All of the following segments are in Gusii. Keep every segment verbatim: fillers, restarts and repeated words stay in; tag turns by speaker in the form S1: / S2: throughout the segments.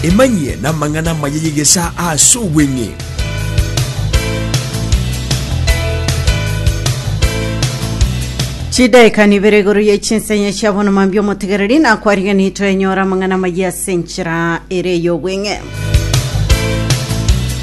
S1: Emanyie n'amang'ana amaya y'egesa ase obweng'e.
S2: Chidaeka nibere igoro ye chinsenya chia bono mambia omotegereri nakwariganitwe twenyora amang'ana amaya ase enchera ere y'obweng'e.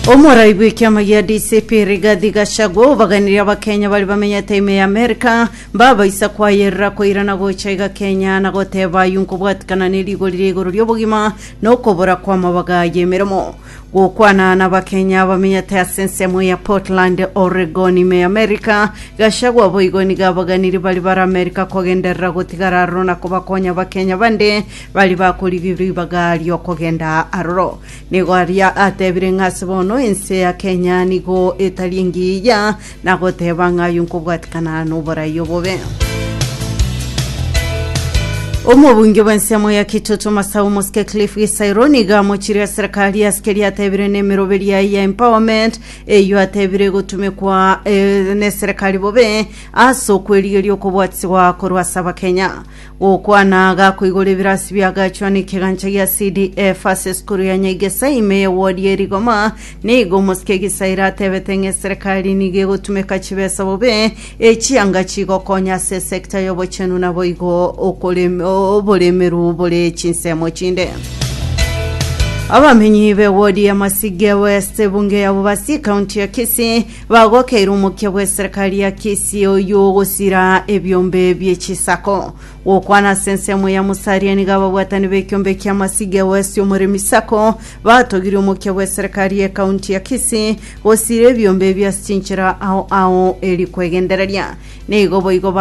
S2: Omorai bw'ekiama gia D C P Rigathi Gachagua obaganirie abakenya bari bamenyete ime ya America mbabaisa kwayerera koirana gocha iga Kenya na goteba aywo nkobwatikana na erigori ria igoro ri'obogima na okobora kw'amabaga y'emeremo. Gokwana n'Abakenya bamenyete ase ensemo ya Portland, Oregon ime ya America, Gachagua boigo nigo abaganiri bari bare America kogenderera gotigara aroro na kobakonya Abakenya bande bari bakorigia ribaga ri'okogenda aroro. Nigo aria atebire ng'a ase bono ense ya Kenya nigo etari engiya na goteba ng'a ayio nkobwatikana noborai obobe. Omobunge bw'ensemo ya Kitutu Masau Mosike Cliff Gisairo nigo amochirie serikali ase keria atebire n'emeroberi yaye ya empowerment eyio atebire egotumekwa eh, n'eserikali bobe ase okwerigeria okobwatisigwa korwa ase Abakenya. Gokwana gakoigora ebirasi biagachwa n'ekegancha gia C D F ase esukuru ya Nyaigesa ime ya ward ya Erigoma, nigo Omosike Gisairo atebete ng'a eserikali nigo egotumeka chibesa bobe echianga chigokonya ase esekta y'obochenu naboigo okorem- oboremeru bore chinsemo chinde. Abamenyi be wodi ya Masige West bunge ya Bobasi county ya Kisii bagokeire omokia bwa serikali ya Kisii oyo ogosira ebiombe bie chisako. Gokwana ase ensemo ya Musaria nigo ababwatani b'ekiombe kia Masige West omoremi sako batogirie omokia bwa serikali ya county ya Kisii gosira ebiombe bia chinchera ao ao eri kwegendereria nigo boigo.